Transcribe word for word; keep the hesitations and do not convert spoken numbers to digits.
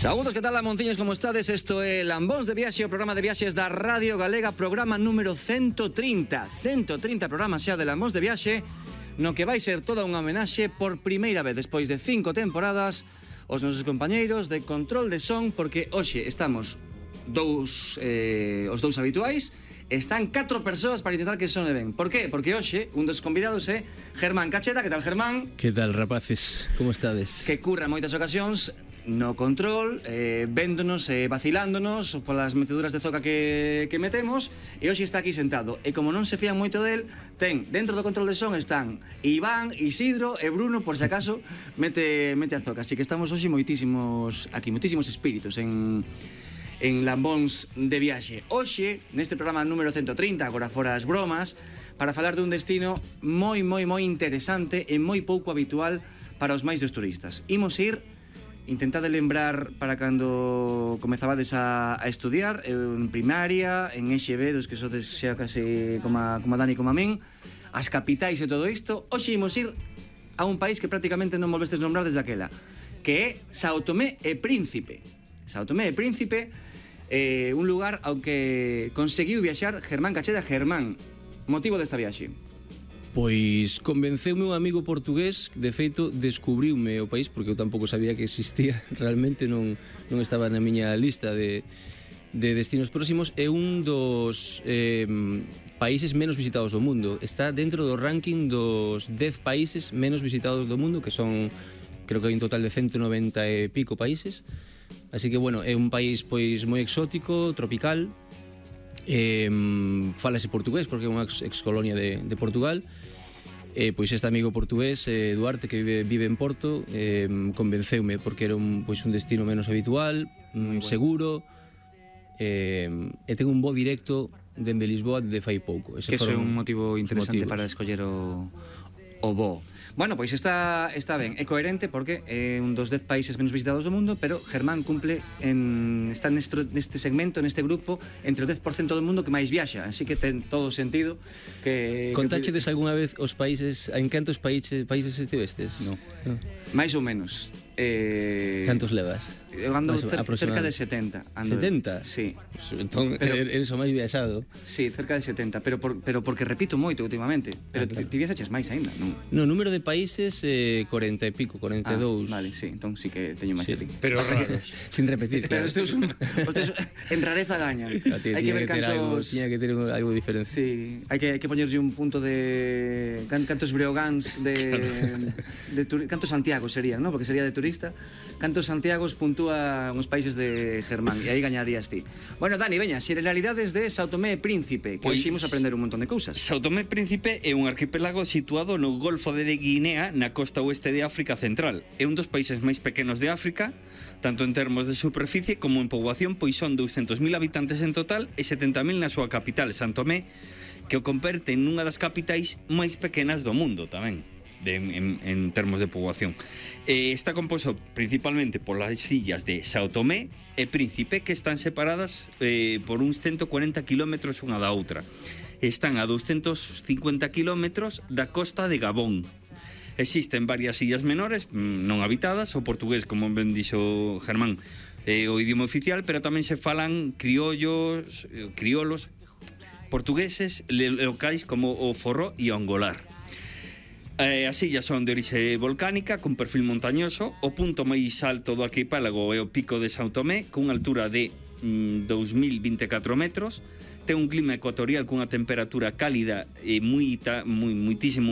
Saúdos, que tal, lamonciños, como estades? Isto é Lambóns de Viaxe, o programa de viaxes da Radio Galega, programa número ciento trinta. ciento trinta programas xa de Lambóns de Viaxe, no que vai ser toda unha homenaxe por primeira vez despois de cinco temporadas os nosos compañeiros de control de son, porque hoxe estamos dous, eh, os dous habituais, están catro persoas para intentar que sone ben. Por qué? Porque hoxe un dos convidados é Germán Cacheda. Que tal, Germán? Que tal, rapaces? Como estades? Que curra moitas ocasións no control, eh, véndonos e eh, vacilándonos polas meteduras de zoca que, que metemos, e hoxe está aquí sentado. E como non se fían moito del, ten, dentro do control de son están Iván, Isidro e Bruno, por se acaso mete, mete a zoca. Así que estamos hoxe moitísimos aquí, moitísimos espíritus en, en Lambóns de Viaxe. Hoxe, neste programa número ciento trinta, agora fora as bromas, para falar dun destino moi, moi, moi interesante e moi pouco habitual para os máis dos turistas. Imos ir, intentade lembrar para cando comezabades a, a estudiar en primaria, en E X B, dos que sodes xa case como a, como a Dani, como a min, as capitais e todo isto. Hoxe imos ir a un país que prácticamente non volvestes nombrar desde aquela, que é Sao Tomé e Príncipe. Sao Tomé e Príncipe, eh, un lugar ao que conseguiu viaxar Germán Cacheda. Germán, motivo desta viaxe? Pois convenceume un amigo portugués, de feito descubriume o país, porque eu tampouco sabía que existía, realmente non, non estaba na miña lista de, de destinos próximos. É un dos eh, países menos visitados do mundo, está dentro do ranking dos dez países menos visitados do mundo, que son, creo que hai un total de ciento noventa e pico países. Así que, bueno, é un país pois moi exótico, tropical. Eh, falase portugués porque é unha ex, ex colonia de, de Portugal. Eh, pois este amigo portugués, eh, Duarte, que vive, vive en Porto, eh, convenceume porque era un, pois un destino menos habitual, mm, bueno, seguro, eh, e ten un voo directo dende Lisboa de fai pouco. Ese que é un motivo interesante para escoller o, o voo. Bueno, pois está, está ben, é coherente porque é un dos dez países menos visitados do mundo, pero Germán cumple en, está neste, neste segmento, neste grupo, entre o dez por cento do mundo que máis viaxa, así que ten todo o sentido que... Contáchedes que... algunha vez os países, en cantos países, países estivestes? No. no. Mais ou menos. Eh... Cantos levas? Eu ando cer cerca de setenta. Ando setenta? Sí. Pues, entón, pero, eres o máis viaxado. Sí, cerca de setenta, pero, por, pero porque repito moito últimamente. Pero ah, claro. ti viaxaches máis aínda, non? No, número de países, eh, cuarenta e pico, cuarenta e dous. Ah, vale, sí, entón sí que teño máis sí, que ti. Pero raros. Sin repetir, claro. Pero os teus, os teus en rareza gañan. Hai que ver que cantos... Algo, tiña que ter algo diferente. Sí, hai que, hai que poñerlle un punto de... Cantos Breogans de... de, de cantos Santiago serían, ¿no? Porque sería de turista. Cantos Santiagos puntúa uns países de Germán, e aí gañarías ti. Bueno, Dani, veña, xeneralidades de Sao Tomé e Príncipe, que hoxe imos aprender un montón de cousas. Sao Tomé e Príncipe é un arquipélago situado no Golfo de Guinea, na costa oeste de África Central. É un dos países máis pequenos de África, tanto en termos de superficie como en poboación, pois son douscentos mil habitantes en total e setenta mil na súa capital, San Tomé, que o converte en unha das capitais máis pequenas do mundo tamén. De, en, en termos de poboación. Eh, está composto principalmente polas illas de Sao Tomé e Príncipe, que están separadas eh, por uns ciento cuarenta kilómetros unha da outra. Están a doscientos cincuenta kilómetros da costa de Gabón. Existen varias illas menores non habitadas. O portugués, como ben dixo Germán, é o idioma oficial, pero tamén se falan criollos, criolos portugueses locais como o forró e o angolar. Eh, as illas son de orixe volcánica, con perfil montañoso. O punto máis alto do arquipélago é o pico de Sao Tomé, cunha altura de mm, dous mil vinte e catro metros. Ten un clima ecuatorial cunha temperatura cálida e moita, moi, moitísimo